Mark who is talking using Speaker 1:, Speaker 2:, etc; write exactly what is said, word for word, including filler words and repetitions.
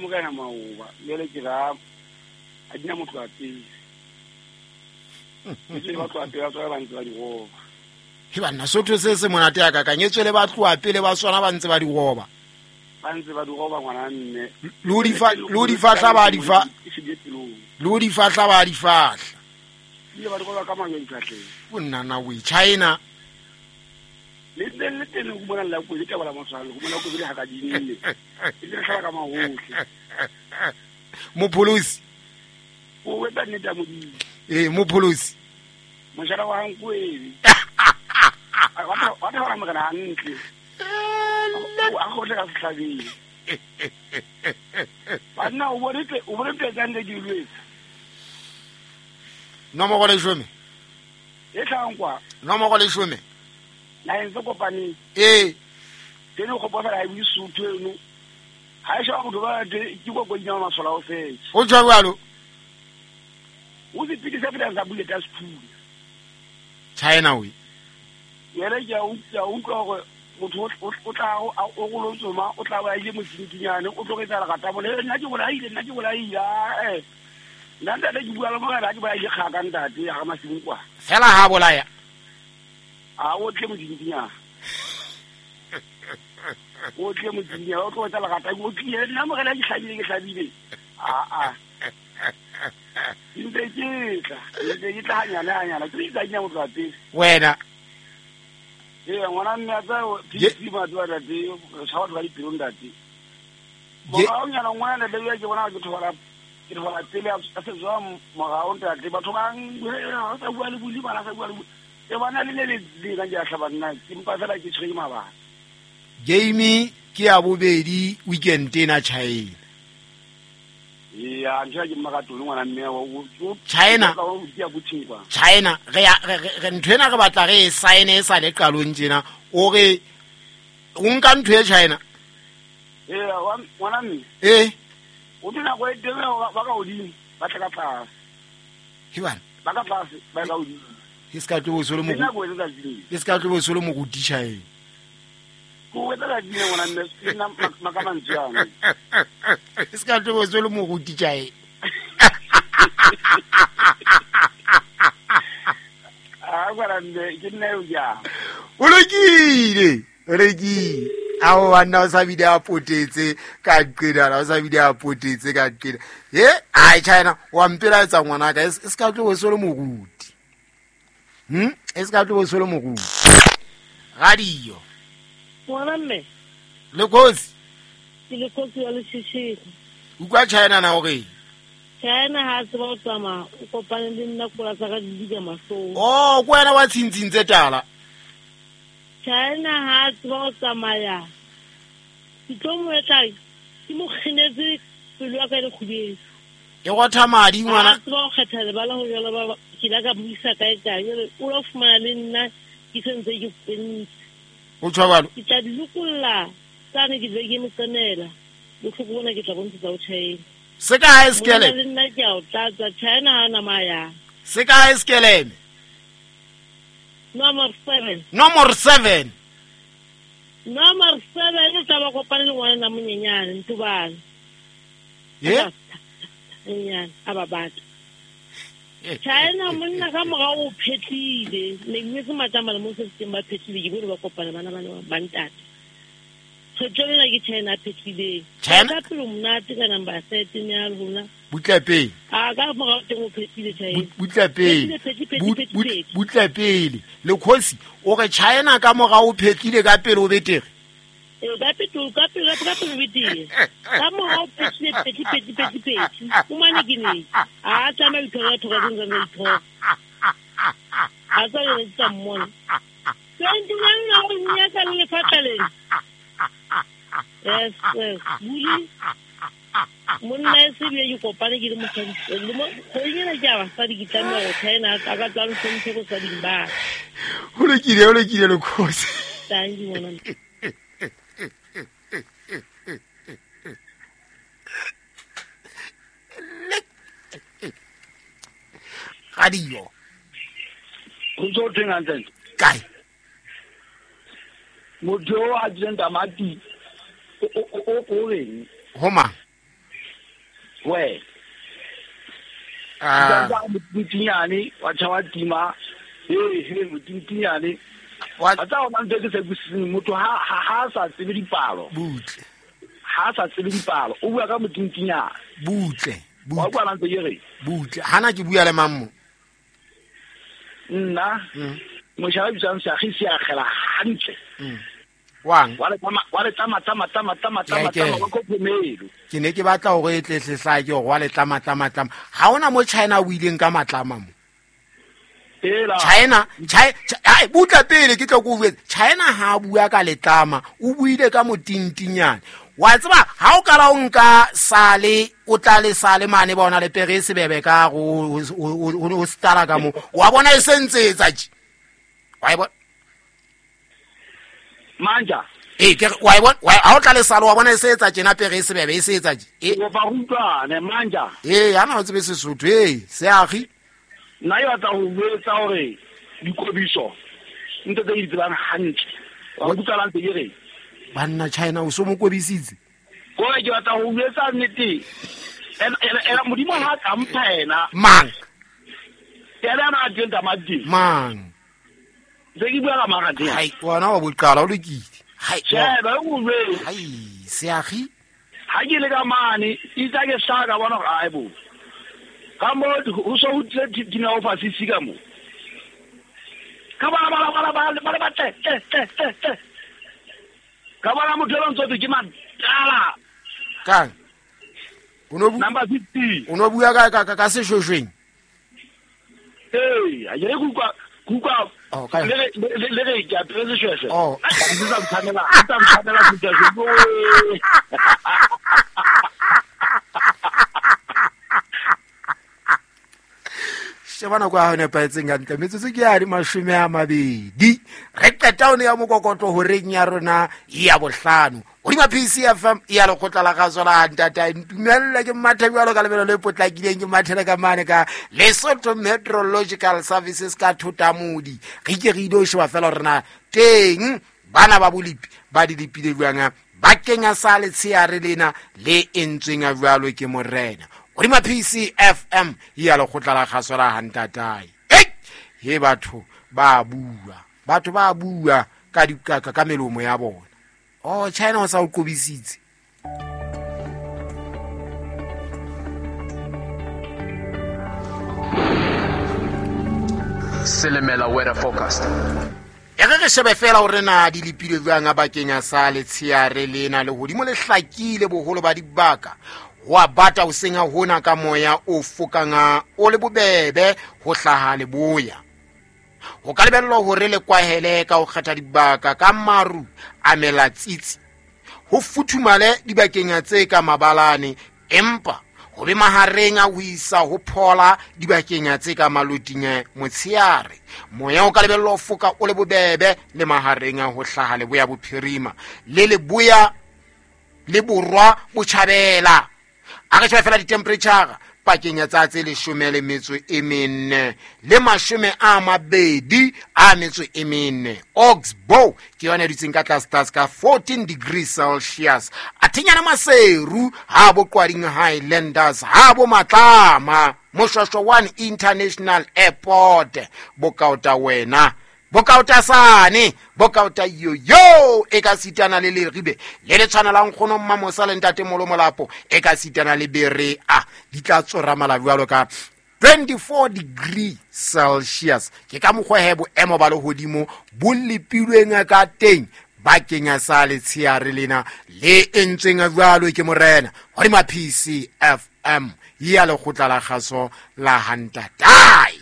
Speaker 1: morena maoba jwale ke ra a dina motho a pele ke ba tloha pele ba tswa ba ntse ba di roba
Speaker 2: he banna sotho se se monate ya ka kanyetswe le ba tloha pele ba swana ba ntse ba di roba
Speaker 1: ba ntse ba di roba ngwana mme
Speaker 2: lo di fa lo di fahla ba di fa lo di fahla ba di fahla
Speaker 1: ile ba di roba ka majwe difahleng
Speaker 2: o nna na we China
Speaker 1: le teng le teng go bona la go le taba la mosalo go bona go bile ha ka dinne e le tlhala ka mahohle
Speaker 2: mopholosi
Speaker 1: o wetsa nnete ya modimo
Speaker 2: eh mopholosi
Speaker 1: moshara wa hankwele wa tha wa morena hantle a go le ka sehlabeng banna o bone tle o bone tle tsande di lwetsa
Speaker 2: nomoro leshome
Speaker 1: e tlhang kwa
Speaker 2: nomoro leshome
Speaker 1: na ntse kopaneng
Speaker 2: eh
Speaker 1: tene go bofa ha e suthu eno ha e sha go ba ke go go nyama masola o fetse
Speaker 2: o tswa jalo
Speaker 1: o se pidi sa pida sa buleta sephunya
Speaker 2: China we
Speaker 1: yele ke a utlwa utlwa gore motho o tla o go lotsoma o tla ba ile motsinkinyane o tlogetsa la gata bole nna ke bolaile nna ke bolaile eh nna ntate ke bua le mogala ke bolaile kgaka ntate ya ga masimo kwa
Speaker 2: fela ha bolaya
Speaker 1: a o tle motsinkinyane o tle motsinkinyane o tlogetsa la gata o tlile nna mogala ke hlabile ke hlabile a a ntse ke tla ntse ke tla hanyana hanyana ke itsa nya motho wa pele
Speaker 2: wena
Speaker 1: ee ngwana mme a tsa P C batho ba ntate sa batho ba dipelo ntate morao nyana ngwana ntate ya ke bona ke thola ke thola pele a se tswa morao ntate batho ba ha sa bua le buli bana sa bua le e bana le le le ka ja hlaba nna ke mpa fela ke tshwere mabaka
Speaker 2: game ke ya bobedi weekend ena China
Speaker 1: ya ntsha ke mmakatolo ngwana mme wa
Speaker 2: China China re re ntho ena re batla re e sign e sa le qalong tjena o re o nka ntho e China
Speaker 1: eh ngwana mme
Speaker 2: eh
Speaker 1: o dina go eteme ba ka hodimo ba tla ka tlase
Speaker 2: ke bana
Speaker 1: ba ka tlase ba ka hodimo
Speaker 2: e ska tlo bo solo mo e ska tlo bo solo mo go China
Speaker 1: go wetsa la dina ngwana mme nna makamantswe ana
Speaker 2: e ska tlo bo solo mo go China
Speaker 1: a ngwana mme ke nna yo ja
Speaker 2: o lokile o lokile a wa nna o sa bile a potetse ka qeda o sa bile a potetse ka qeda he ai China wa mpela etsa ngwana ka e ska tlo bo solo moruti hm e ska tlo bo solo moruti radio
Speaker 3: ngwana mme
Speaker 2: le kosi
Speaker 3: ke le kosi ya leshishiri
Speaker 2: utlwa China na hore
Speaker 3: China ha tseba o tsamaya o kopane le nna kola tsa ka di dika mahlong
Speaker 2: oh ko wena wa tshintsintse tala
Speaker 3: China ha tseba o tsamaya ke tlo mo etla ke mo kginetse pelo ya ka le kgubedi
Speaker 2: e gotha madi ngwana
Speaker 3: tseba o kgetha lebala ho jalo ba ke la ka buisa kae kae o lo fumana le nna ke sentse ke pentse
Speaker 2: o tshwabalo
Speaker 3: ke tla dilokolla tsane ke be ke mo tsenela bohloko bona ke tla bontsha o China
Speaker 2: se ka ha skele
Speaker 3: le nna ke a o tlatsa China ha na maya
Speaker 2: se ka ha skele
Speaker 3: number seven
Speaker 2: number seven
Speaker 3: number seven e tla ba kopane le ngwana na monyenyane ntubane
Speaker 2: ye
Speaker 3: nyenyane a ba batla China monna ka morao o phetlile ne ke se matama le mo se teng ba phetlile ke bone ba kopana bana bana ba ntate tshotsela ke China phetlile
Speaker 2: China
Speaker 3: ka pelo monate ka number seven ya lona
Speaker 2: butla pele
Speaker 3: a ka morao teng o phetlile China
Speaker 2: butla pele butla pele le khosi o re China ka morao o phetlile ka pele o betere
Speaker 3: e ka pele ka pele ka pele betere ka morao phetlile phetlile phetlile phetlile o mane ke ne a tsamaya dithoka thoka tse ntse dithoka a tsa le tsa mmona twenty nine na o nyaka le lefatla lena yes yes buli monna e se bile ke kopane ke le mosadi le mo kgweding ke a basadi ke tlameha go China a ka tswa hlomphe go sading ba
Speaker 2: ho lokile ho lokile le khosi
Speaker 3: thank you ngwana
Speaker 2: radio
Speaker 1: go tso teng hantle
Speaker 2: kae
Speaker 1: motho o a jeleng tamati o o o reng
Speaker 2: ho mang
Speaker 1: Wena
Speaker 2: ah
Speaker 1: motintinyane wa tjha tima eh he motintinyane
Speaker 2: wa
Speaker 1: tsa ona ntse ke se busiseng motho ha ha sa tsebe dipalo
Speaker 2: butle
Speaker 1: ha sa tsebe dipalo o bua ka motintinyane
Speaker 2: butle
Speaker 1: wa bua ntse ke re
Speaker 2: butle hana ke bua le mammo
Speaker 1: nna moshaba bitsang sa gisi a gela hantle
Speaker 2: wang
Speaker 1: wa le tama wa le tama tama tama tama tama tama ko phomelo
Speaker 2: ke ne ke batla hore e tle hle ke hore wa le tlama tlama tlama ha ona mo China o ileng ka matlama mo
Speaker 1: ela
Speaker 2: China China ai butla pele ke tlo go bua China ha bua ka letlama o buile ka motintinyane wa tseba ha o kala o nka sale o tla le sale mane bona le pere sebebe ka go o stara ka mo wa bona e sentsetsa tje wa e bona
Speaker 1: manja
Speaker 2: eh ke wa e bona ha o tla le sale wa bona e setsa tjena pere e sebebe e setsa tje
Speaker 1: e ba rutwane manja
Speaker 2: eh ana o tsebe Sesotho eh seagi
Speaker 1: nna yo tla ho buetsa hore dikobiso ntse tse di tsebang hantle wa utlwa ntse ke re
Speaker 2: banna China o so mo kobisitse
Speaker 1: ko ke batla ho buetsa nnete ena ena modimo ha ka mpha ena
Speaker 2: mang
Speaker 1: ena na teng tamati
Speaker 2: mang
Speaker 1: se ke bua ka mang teng
Speaker 2: hai wona wa boqala o lokile hai
Speaker 1: sheba o bue
Speaker 2: hai seagi
Speaker 1: ha ke le ka mane itsa ke hlaka bona hore ai bo ka mo ho so ho tle dina o fasisi ka mo ka ba ba ba ba ba ba tle tle tle tle ka bona motho lo ntse ke matala
Speaker 2: kang o no
Speaker 1: number fifty
Speaker 2: o no bua ka ka ka seshweshweng
Speaker 1: eh a ke kuka kuka le le le re ke apere seshweshwe
Speaker 2: oh
Speaker 1: ke sa mthanela ke sa mthanela seshweshwe
Speaker 2: sheba nako ya hone paetseng hantle metsotso ke ya di mashome a mabedi re qeta one ya mokokotlo horeng ya rona ya bohlano hodima P C F M ya lekgotla la kgaso la ntata ntumelle ke mathe jwalo ka lebelo le potlakileng ke mathele ka mane ka Lesotho Meteorological Services ka Thotamodi re ke re ile sheba fela hore na teng bana ba bolipi ba di lepile jwang ba kenya sa letsheare lena le entsweng jwalo ke morena hodima P C F M ya lekgotla la kgaso la ntatae hey he batho ba bua batho ba bua ka dikaka ka melomo ya bona oh China o sa o qobisitse
Speaker 4: Selemela weather forecast
Speaker 2: e re re shebe fela hore na di lepile jwang bakeng sa letsheare lena le hodimo le hlakile boholo ba dibaka wa bata o senya hona ka moya o fokanga o le bobebe ho hlaha leboya ho ka lebellwa hore le kwahele ka ho kgetha dibaka ka maru a melatsitsi ho futhumale dibakeng tse ka mabalane empa ho be mahareng a ho isa ho phola dibakeng tse ka maloting motsheare moya o ka lebellwa ho foka o le bobebe le mahareng a ho hlaha leboya bophirima le leboya le borwa botjhabela a re sheba fela di-temperature pakeng ya tsa tse leshome le metso e mene le mashome a mabedi a metso e mene Oxbow ke yona e dutseng ka tlase tlase ka fourteen degrees Celsius Athinyana Maseru ha bo Qwading Highlanders ha bo Matlama Moshwashwa one International Airport bokaota wena bokaota sane bokaota yo yo e ka sitana le leribe le le tshwanelang kgono mmamosa le ntate Molomolapo e ka sitana le bere a di tla tsoramala jwalo ka twenty-four degree Celsius ke ka mokgwa he boemo ba lehodimo bo lepilweng ka teng bakeng sa letsheare lena le entsweng jwalo ke morena hodima P C F M ya lekgotla la kgaso la Hantatai.